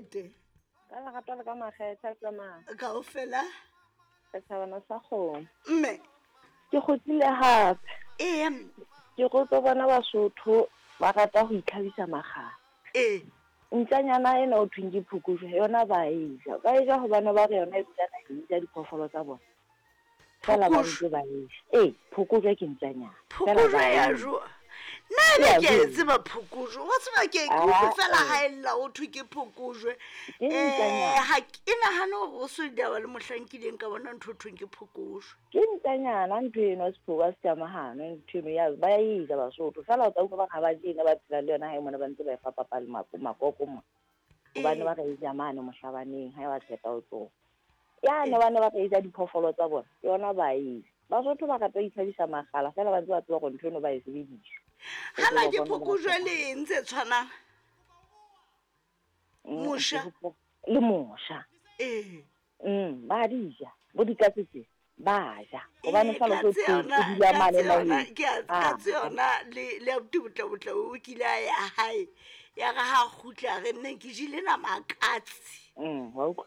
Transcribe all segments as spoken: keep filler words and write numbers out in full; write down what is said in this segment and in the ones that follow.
lete. Ka lerato le ka makgetha tsamaya. Kaofela. Re thabana sa kgomo. Mme. Ke kgutlile hape. Ee. Ke go tlo bona Basotho ba rata ho itlhabisa makgala. Ee. Ntjanyana ena o thweng ke phokojwe yona ba e ja. Ba e ja hobane ba re yona e dula naheng e ja diphoofolo tsa bona. Fela ba ntse ba e ja. Ee, phokojwe ke ntjanyana. Phokojwe ya jowa. Nna ebe ke a e tseba phokojwe. Wa tseba ke ke utlwe fela ha e lla ho thwe ke phokojwe. Ke Eh, ntjanyana. ha ke nahane hore o so ditaba le mohlang kileng ka bona ntho e thweng ke phokojwe. Ke ntjanyana ntho eno sephoka se tsamahano ntho eno ya ba e ja Basotho. Fela o tla utlwa ba re ha ba je ena ba phela le yona hae mona ba ntse ba e fa papa le mako makoko mona. Hobane ba re e ja mane mohlabaneng ha ba qeta ho tsoha. Yane ba ne ba re e ja diphoofolo tsa bona yona ba e ja. Basotho ba rata ho itlhabisa makgala fela ba ntse ba tseba hore ntho eno ba e sebedisa. Hana ke phokojwe le eng tse tshwanang? Mm, Mosha. Le mosha. Ee. Mm, ba di ja. Bo dikatse tse ba ja. Hobane Ee, fela o katse tlo yona, o dula mane katse yona, naheng. ke a- Ah. katse yona le le abuti Botlabotla o kile a ya hae. Ya re ha kgutla a re nne ke jele nama ya katse. Mm, wa utlwa.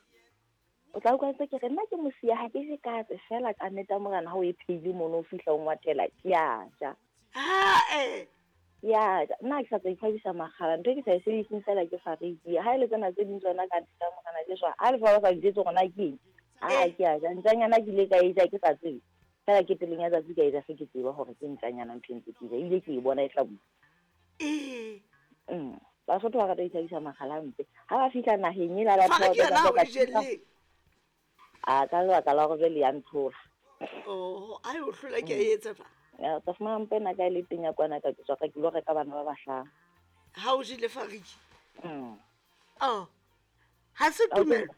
O tla utlwa ntse ke re nna ke mosiya ha ke je katse fela ka nnete ya morena ha o e phehile mono o fihla o ngwathela ke a ja. Ha eh. Ke a ja. Nna ha ke sa tla itlhabisa makgala ntho e ke sa e sebediseng fela ke fariki. Ha e le tsena tse ding tsona ka nnete ya morena ke shwa. Ha le fa ba sa njwetse hore na ke eng. Ha ke a ja. Ntjanyana ke ile ka e ja ke sa tsebe. Fela ke pelong ya tsatsi ka e ja se ke tseba hore ke ntjanyana ntho e ntse ke e ja. Ebile ke e bona e hlabuwa. Ee. Mm. Basotho ba rata ho itlhabisa makgala hampe. Ha ba fihla naheng ela ba Fariki thola yona ha o ba e jelleng? A ka lebaka la hore jwale ya ntlhola. Oh, a e o hlola ke a e etsa jwang? Ya, tla fumana mpa ena ka e le teng ya kwana ka ke tswa ka ke lo reka bana ba bahlano. Ha o jele fariki? Mm. Oh. Ha se Ha o tlo tumelo?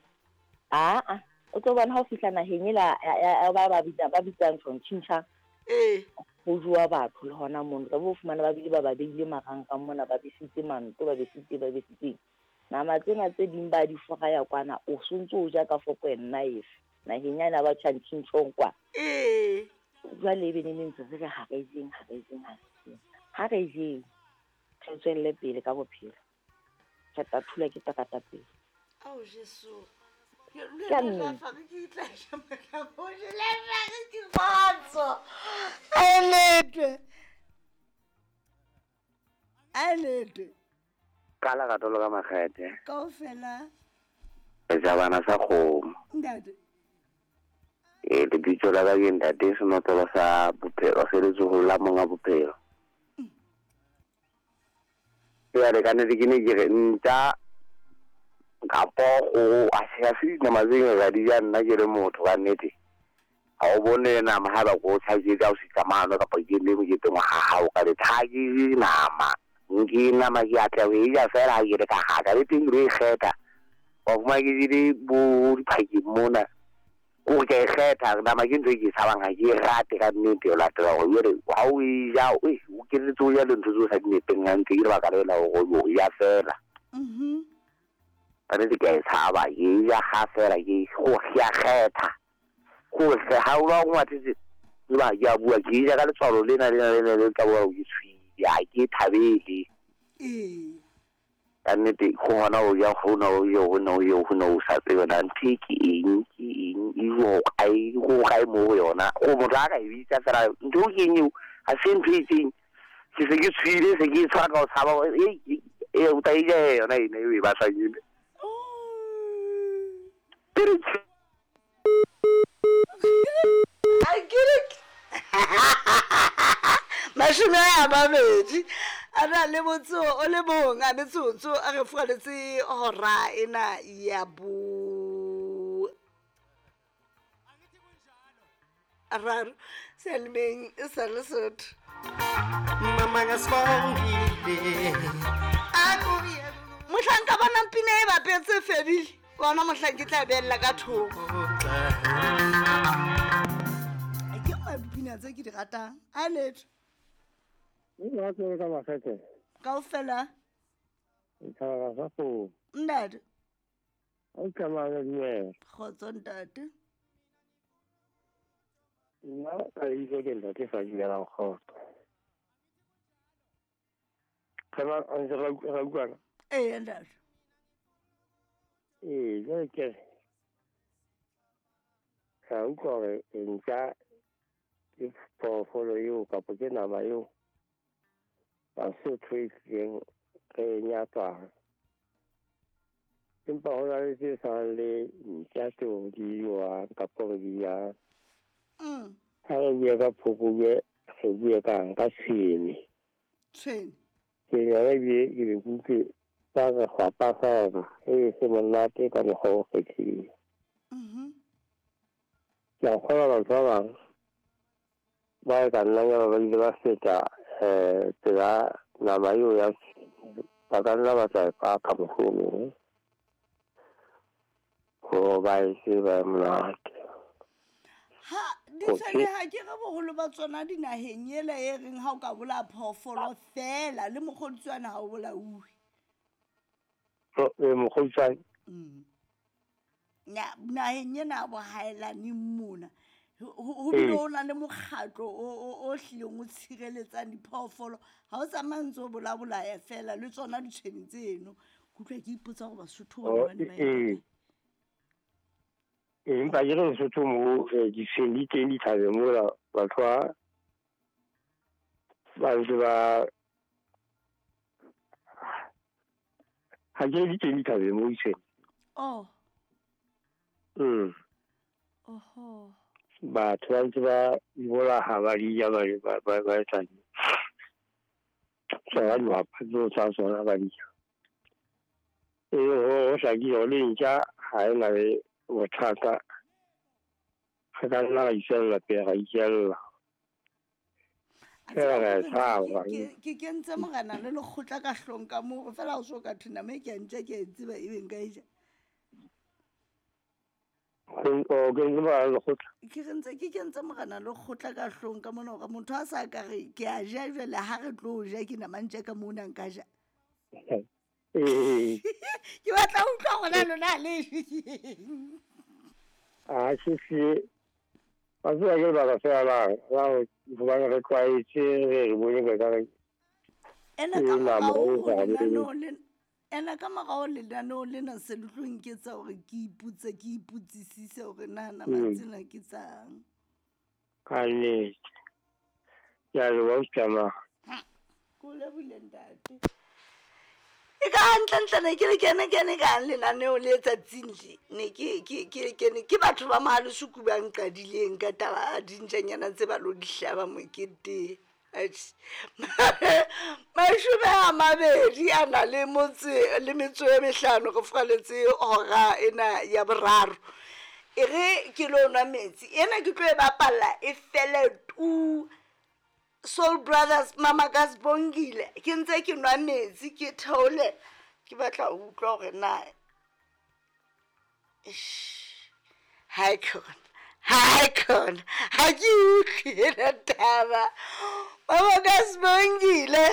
Ah, ah. O tlo bona ha o fihla naheng ela ya, ya, ya ba ba bitsa, ba bitsang tjhong, tjhintjha. Ee. Ho jowa batho le hona mono. Tla bo fumana ba bile ba ba beile marangrang mona, ba besitse manto, ba besitse, ba besitse. Nama tsena tse ding ba di foraya kwana, o sontso o ja ka foko e nna efe. Naheng yana ba tjhang tjhintjhong kwa. Ee. Jwale ebe ne ntse re re ha re jeng, ha re jeng, ha re jeng. Ha re jeng, re tswelle pele ka bophelo. Re tla thula ke terata pele. Ao Jesu. Ke a nnete. A letwe. A letwe. Ka lerato le ka makgethe. Kaofela. Re ja bana sa kgomo. Ntate. Ee, lebitso la ka ke ntate senotlolo sa bophelo, se letsoho la monga bophelo. Jwale ka nnete ke ne ke re ntja kapo kgoho, a se ha se dinama tse ngata di ja nna ke le motho ka nnete. Ha o bone nama ha ba ko tjhaketse ha o fihla mane kapa ke le moketeng wa ha hao ka nnete, ha ke je nama. Nke nama ke atla ho e ja fela ha ke le ka haka, le teng ke lo e kgetha. Wa fumana ke jele bo diphakeng mona. Kore ke a e kgetha, nama ke ntho e ke e tshabang, ha ke e rate ka nnete ho latela hore jwale ha o e ja, eh, o kenetse o ja le ntho tseo o sa di nepeng hantle, ke lebaka leo la hore o ja fela. Mhm. Ka nnete ke a e tshaba, ke e ja ha fela, ke go ke a kgetha. Gore ha o ba o ngwathetse, tseba ke a bua, ke e ja ka letswalo lena, lena, lena, le tla bua ke tshwile, ha ke e thabele. Ee. Ka nnete, go hona o ja, hona o ja, hona o ja, hona o sa tsebe na ntho e ke eng, ke eng, e ho kae, ho kae mo ho yona. Go motho a ka e bitsa fela, ntho e ke eng eo, ha se ntho e itseng. Ke se ke tshwile, se ke e tshwara ka ho tshaba, e, e, e, o tla e ja yona ena eo e batlang ena. Ke re tsh- A ke re ke- Mashome a mabedi a na le motso o le mong a metsotso a re furaletse hora ena ya bo raro sealemeng e sa Lesotho. Mohlang ka bonang pina e bapetse e fedile, ke ona mohlang ke tla beella ka thoko. Ke nngwe ya dipina tse ke di ratang. A letho. Nna ka makgethe. Kaofela. Thabela sa kgomo. Ntate. O tsamaya dumela. Kgotso ntate. Nna ka lebitso ke ntate Fadimelang Kgotso. Re ba ntse ra ra utlwana? Ee ntate. Ee, jwale ke re ka utlwa hore ntja ke phoofolo eo kapa ke nama eo Basotho e hlileng re e nyatsang. Empa ho na le tse tshwanang le ntja tseo di jewang kapa re di jang. Mm. Ha re bua ka phokojwe, re bue kang ka tshwene. Tshwene. Tshwene yona ebile ke be ke utlwe ba re kgwapa feela e se monate ka mokgwa o kgethileng. Mhm. Ke a kgolwa batho ba bang ba e ka nnang ya ba ile ba feta um pela nama eo ya tshwene, ba ka nna ba tla e paka mohlomong hore ba e tseba e monate. Ha ditshwene ha ke re boholo ba tsona dinaheng ela e reng ha o ka bolaya phoofolo fela le mokgodutswane ha o bolauwe. Ee, mokgodutswane. Mm. Nya- naheng ena ya bohaelaneng mona ho ho bile ho na le mokgatlo o o- o hlileng o tshireletsang diphoofolo ha o tsamaye ntse o bolabolaya fela le tsona ditshwene tseno ke utlwa ke ipotsa hore Basotho bona Oh, ba ne ba ee. etsa Ee, empa ke re Lesotho moo eh, ditshwene di teng dithabeng mola batho ba ba ntse ba ha ke re di teng dithabeng moo ditshwene. Oh. Mm. Oho. Batho ba ntse ba di bolaha ba di ja ba ba ba ba etsa tsona dihwapa tseo tsa tsona ba di ja. Ee, ho ho hlakile hore le ntja ha e na le bothata, re ka nna ra itswella pele ra itjella. A Feela tseba re a hore tshaba. ke ke kentse morena le lekgotla ka hlong ka moo fela ha o so ka thwe nama e ke ya ntja ke a e tseba ebe nka e ja. O kentse morena le lekgotla? Ke re ntse ke kentse morena le lekgotla ka hlong ka mona hore motho a sa ka re ke a ja jwale ha re tlo ja ke nama ntja ka mona nka ja. Ee. Ke batla ho utlwa hore na lona ha le je keng. Ah, se se wa tseba ke lebaka fela la la ho hobane re tlwaetse re re bone ka re Ene ke ka nama morao e ho sa lenaneo lena ene ka morao lenaneo lena se le tlo nketsa hore ke ipotse ke ipotsisise hore na nama Mm. tsena ke tsang. Ka nnete. Ke a leboha ausi Tsamaya. Ke o lebohile ntate. E ka hantlentle ne ke le kene kene kang lenaneo le tsatsing le ne ke ke ke kene ke batho ba Mohalesuku ba nqadileng ka taba ya dintjanyana tse ba lo di hlaba moketeng. Atjhe. Mashome a mabedi a na le motse le metso e mehlano re furaletse hora ena ya boraro. E re ke lo nwa metsi ena ke tlo e bapalla e fele tu. Soul Brothers Mama ka Sibongile ke ntse ke nwa metsi ke theole ke batla ho utlwa hore na Eish, ha e khona ha e khona ha ke utlwe ena taba Mama ka Sibongile.